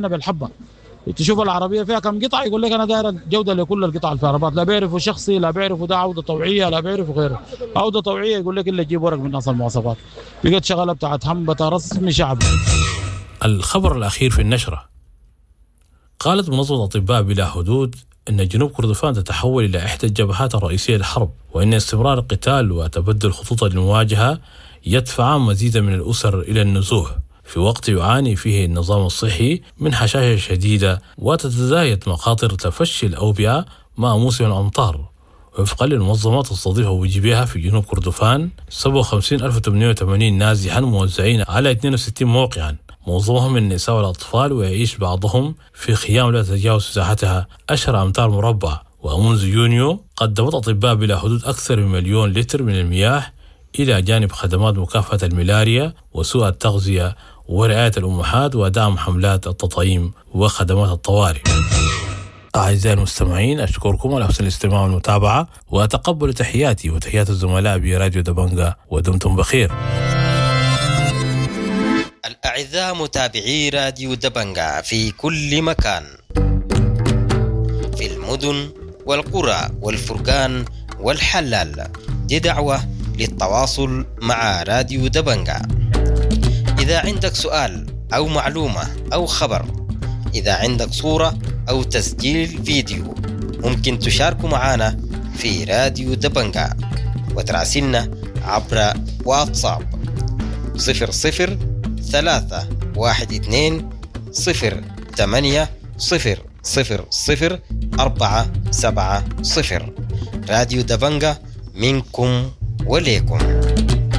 بالحبه. تشوف العربية فيها كم قطعه، يقول لك انا داير الجودة لكل القطع في العربات. لا بيعرفوا شخصي، لا بيعرفوا ده عوده طوعيه، لا بيعرفوا غيره. عوده طوعيه يقول لك الا تجيب ورق من ناس المواصفات. بقت شغله بتاعت همبته رسمي شعبي. الخبر الأخير في النشرة: قالت منظمة أطباء بلا حدود أن جنوب كردفان تتحول إلى إحدى الجبهات الرئيسية للحرب، وأن استمرار القتال وتبدل خطوط المواجهة يدفع مزيدا من الأسر إلى النزوح، في وقت يعاني فيه النظام الصحي من هشاشة شديدة وتتزايد مخاطر تفشي الأوبئة مع موسم الأمطار. وفقا للمنظمة، تستضيف أبو في جنوب كردفان 57880 نازحا موزعين على 62 موقعا، معظمهم من النساء والأطفال، ويعيش بعضهم في خيام لا تتجاوز مساحتها 10 أمتار مربع. ومنذ يونيو قدمت أطباء بلا حدود أكثر من 1,000,000 لتر من المياه، إلى جانب خدمات مكافحة الملاريا وسوء التغذية ورعاية الأمهات ودعم حملات التطعيم وخدمات الطوارئ. أعزائي المستمعين، أشكركم على حسن الاستماع والمتابعة، وتقبلوا تحياتي وتحيات الزملاء براديو دبنجا، ودمتم بخير. الأعزاء متابعي راديو دبنجا في كل مكان، في المدن والقرى والفرقان والحلال، دي دعوة للتواصل مع راديو دبنجا. إذا عندك سؤال أو معلومة أو خبر، إذا عندك صورة أو تسجيل فيديو، ممكن تشاركوا معنا في راديو دبنجا وتراسلنا عبر واتساب 0031208000470. راديو دبنجا، منكم وليكم.